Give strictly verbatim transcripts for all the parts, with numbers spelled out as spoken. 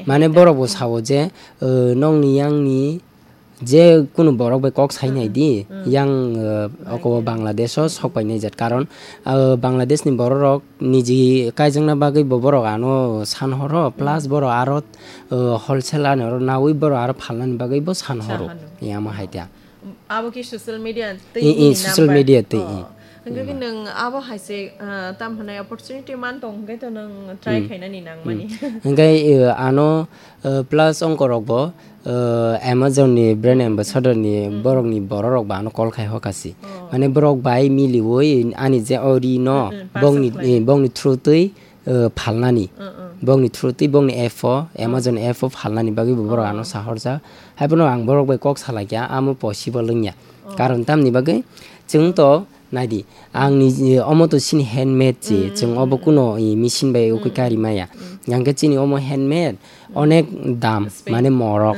Mane borok bo sao je, eh, nokni yangni je kunu borok bai kok sai nai di, yang, eh, oko Bangladesh o sok pai nai jat. Karon, eh, Bangladesh ni borok rok niji kaijakna bagwi bo borok ano san horo, plus borok aro, eh, wholesale ani oro nawi borok aro phalnani bagwi bo san horo. Yama hai ta. Abo ki social media tei I, i, nini social number? Media tei, Oh. i. Hingke ki nwng abo hai se, ah, tam hwnai opportunity man tong hingke to nwng try khainani nang mani. Hingke, eh, ano, eh, plus ongko rok bo, eh, Amazon ni brand ambassador ni borok ni borok rok ba ano call khai hoka si. Oh. Mane borok bai miliwi ani je o ri no, Mm, mm, bongni, parcel khlai. Eh, bongni through twi eh, phalnani. Bongni through twi bongni app o, Amazon app o phalnani bagwi bo borok ano sahorjak. Haiphano ang borok bai kok salaikha, amo possible wngya. Karon tamni bagwi chwng to naidi, ang ni, eh, omo to chini handmade se, chwng obo kuno, eh, machine bai ukui kari maya. Hingkhe chini omo handmade, onek dam, mane morok.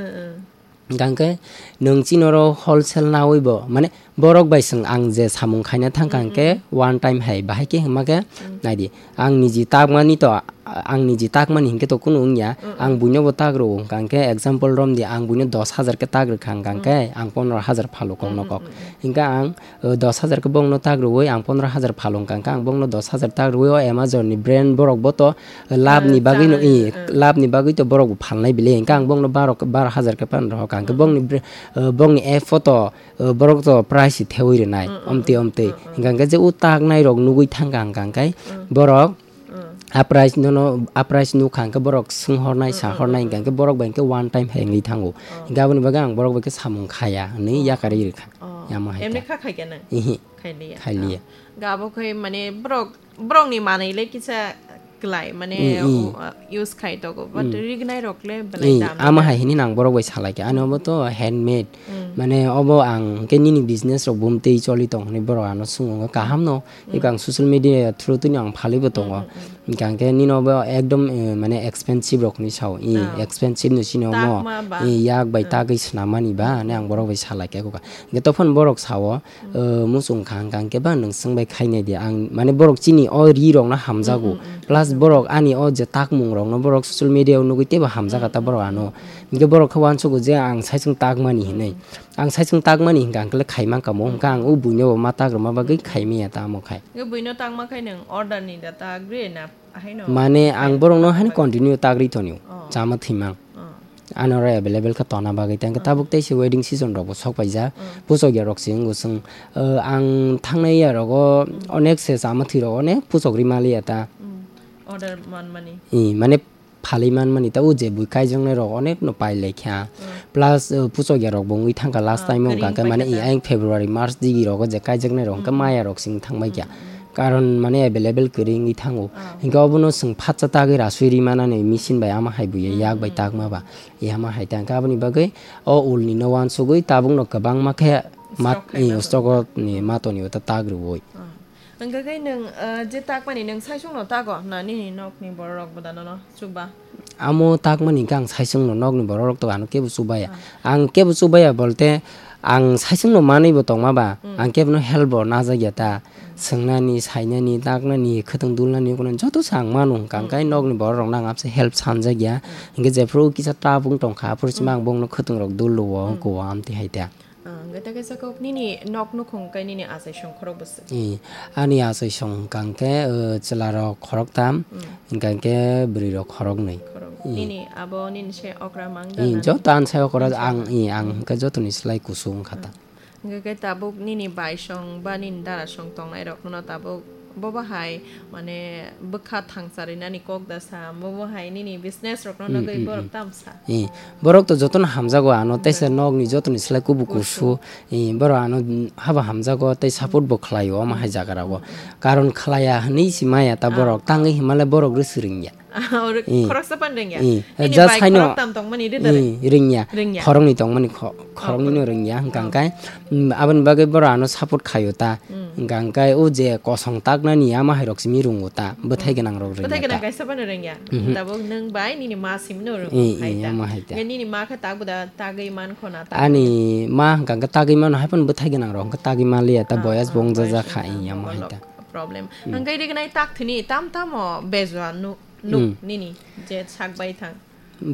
Hingkha khe nwng chini oro wholesale nawi bo, mane borok bai chwng ang je samung khaina thangkha hingkhe one time hai bahai khe hwnma khe naidi. Ang niji takmani to, ang niji takmani hingkhe to kunu wngya. Ang buino bo tak rwo hingkha khe example rom di, ang buino dos hajar khe tak rwkha hingkha khe ang pondro hajar phalo kok no kok. Hingkha ang o, dos hajar khe bongno tak rwwi ang pondro hajar phalung kangkha, ang bongno dos hajar tak rwwi o Amazon ni brand borok bo to, eh, lab ni bagwi no, eh, lab ni bagwi to borok bo phalnai bile, hingkha ang bongno baro, baro hajar khe phan rw kha, hingkha bongni bre-, eh, bongni app o to, eh, borok to price thewi rwnai, omtwi omtwi. Hingkha khe je o tak nai rok nugwi thangkha hingkha khe borok, a price nono, a price nukha hingkhe borok swnghornai, sahornai, hingkha khe borok bai hingkhe one time hai wngwi thango. Hingkhe aboni bagwi ang borok bai khe samung khaya hwnwi yakarwi rwkha. Oh. Yamo hai emni ta. Kha khai khe nang? Ihi. Khai liya. Khai liya. Ah. Ga abo khai mane borok, borok ni manwi le kisa klai mane, mm, mm, o, uh, use khai togo, but, mm, rignai rok le belai, eh, dam ama ya. Hai hini nang borok bai salai khe. Ano bo to handmade. Mm. Mane obo ang khe nini business rok bumtwi choli tong hwnwi borok ano swngwi kaham no. Mm. Eko ang social media through twi no ang phalwi bo tongo. Mm, mm, mm. Hingkha khe nini obo ekdom, eh, mane expensive rok ni sao. I, ah, expensive no sini omo. Takma ba. I, yak bai, mm, tagwi swnam mani ba, mm, ne ang borok bai salai khe kha. Hingkhe tophon borok sao, eh, muchung kha hingkha khe ba nwng swngbai khainai di. Ang mane borok chini o ri rok no hamjago. Mm, mm, mm. Plus borok ani o je takmung rok no borok social media o nugwi teibo hamjaga ta borok ano. Mm, mm, mm. Hingkhe borok khe uansugo je ang saichung takmani hinwi. Mm. Ang saichung takmani hingkha ang khe khaima kamo, hingkha ang o buino bo ma tak rwma bagwi khaimaya tamo khai. Hingkhe buino takma khai nwng order ni da tagri na haino? Mane ang borokno haino continue tagri tonio, oh, chama thwimang. Oh. Ano oro available kha tona bagwi, tang khe tabuk tei se wedding season rok bo sok paijak, oh, puchok ya rok se wngo chwng, eh, ang thangnai ya rogo onek se chama thwi rok onek puchok ri maliya ta. Mm. Order manmani. I, mane phalwi manmani ta, o je bui kaijaknai rok onek no pai lai kha. Mm. Plus, uh, puchok ya rok bo wngwi thangkha last, ah, time o kering hwnkha khe mane paikha ta. Ayang February, March digi rogo je kaijaknai rok hwnkhe, mm, maya rok sing thangbai kha. Mm, mm. Karon mane available kwrwi wngwi thango. Ah. Hwnkhe obono chwng phatsa tagwi rasui ri manani machine bai ama hai buya, mm, yak bai, mm, takma ba. Yama hai ta hwnkhe aboni bagwi o ul ni no uansugwi tabuk no kwbangma khe mat-, stock khai i, mano. Stock ni mato ni uta tag rwui. Ah. Hwnkhe khe nwng, eh, je takmani nwng saichung no tago na nini nok ni borok rok bo da nono chuba? Amo takmani hwnkhe ang saichung no nok ni borok rok to ano kebo chubaya. Ah. Ang kebo chubaya bolte ang saichung no manwi bo tongma ba, mm, ang kebo no help bo najak ya ta. Mm. Swngnani, sainani, taknani, khwtwng dulnani, joto se ang mano hwnkha, mm, hwnkhe nok ni borok rok no ang abse help sanjak ya. Mm. Hwnkhe jephru kisa tabung tongkha, aphuru sima, mm, ang bongno khwtwng rok dul rwo, mm, wngkha o amtwi hai ta. Ah, hwnkhe ta kaisa kok nini nok nukhung kai nini achai song khorok bwswk? Eh, ani achai song hwnkha hwnkhe, eh, chwla rok khorok tam, mm, hwnkha hwnkhe bwrwi rok khorok nwi. Khorok. Eh. Nini abo nini se okra mang da? Eh, na? Joto ani sai okra. Ani sai ang, okra. Eh, ang, mm, hwnkhe jotoni slai kusu wngkha ta. Mm. Hwnkhe khe tabuk nini bai song ba nini dara song tongnai rok no tabuk Bo bahai, mane, bwkha thangcha rinani kok da sa, bo bahai nini business rokno, mm, nogwi, mm, borok, mm, tam sa. Eh, borok to jotono hamjago ano, mm, teisa nokni jotoni slai kubuk kusu. Kusu. Eh, borok ano, mm, habo hamjago tei support, mm, bo khlaio omo hai, mm, jaga rogo. Mm, mm. Karon khlaiya hinwi si maya ta, ah, borok, tangwi hinmale borok rwswk ringya. Oro, eh, khoroksa pan rengya. Eh, nini just bai haino, khorok tam tongmani rida re? Eh, rengya. Rengya. Khoroknwi tongmani kho-, oh, khoroknwi no khorok. Rengya. Hwnkha, oh, hwnkhe, mm, aboni bagwi borok ano support khaio ta. Mm. Hwnkha, hwnkhe o je kosong taknani ama hai rok simi rungo ta. Bwthai, mm, gwnang rok rengya ta. Bwthai gwnang kaisa phano rengya. Mhm. Tabuk nwng bai nini ma simino rungo, eh, hai, eh, ta. Ama hai ta. Hwnkhe nini ma khe tabuk da tagwi man khona ta. Ani ma hwnkha, hwnkhe tagwi mano hai phano bwthai gwnang rok hwnkhe tagwi manliya ta, ah, boyas ah, bo wngjaja kha, eh, ama hai ta. Problem. Mm. Hwnkhe rignai tak thini tam tamo bejua nu-, nuk, mm, nini je sak bai thang.